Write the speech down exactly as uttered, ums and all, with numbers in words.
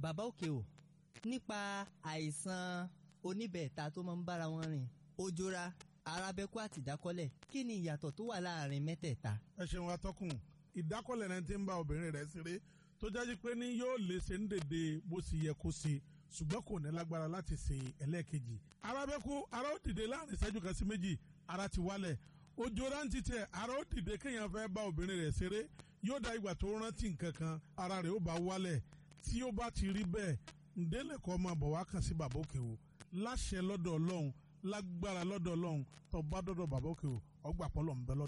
Bàbá òkè o, nípa àìsàn oníbẹ̀ẹ̀ta tó máa ń bára wọn rìn, ojora, arábẹ́kú àti ìdákọ́lẹ̀, kí ni ìyàtọ̀ tó wà láàrin mẹ́tẹ̀ẹ̀ta? Ẹ ṣeun atọ́kùn. Ìdákọ̀lẹ̀ náà ti ń bá obìnrin rẹ̀ ṣeré tó jáde pé ní yóò lè ṣe ń dèdè bó ṣe yẹ kó ṣe, ṣùgbọ́n kò ní lágbára láti ṣe ẹlẹ́ẹ̀kejì. Arábẹ́kú, ara ó dìde láàrin ìṣẹ́jú kan sí méjì, ara ti wálẹ̀. Ojú rántí tiẹ̀, ara ó dìde kéèyàn fẹ́ bá obìnrin rẹ̀ ṣeré, yóò da ìgbà tó rántí nǹkan kan, ara rẹ̀ ó bá wálẹ̀. Tí ó bá ti rí bẹ́ẹ̀, ǹdẹ́lẹ̀kọ́ máa bọ̀ wá kàn sí bàbá òkè o láṣẹ lọ́dọ̀ Ọlọ́run, lágbára lọ́dọ̀ Ọlọ́run. Tó bá dọ́dọ̀ bàbá òkè o, ọgbà pọ́lọ̀ ń bẹ lọ́dọ̀.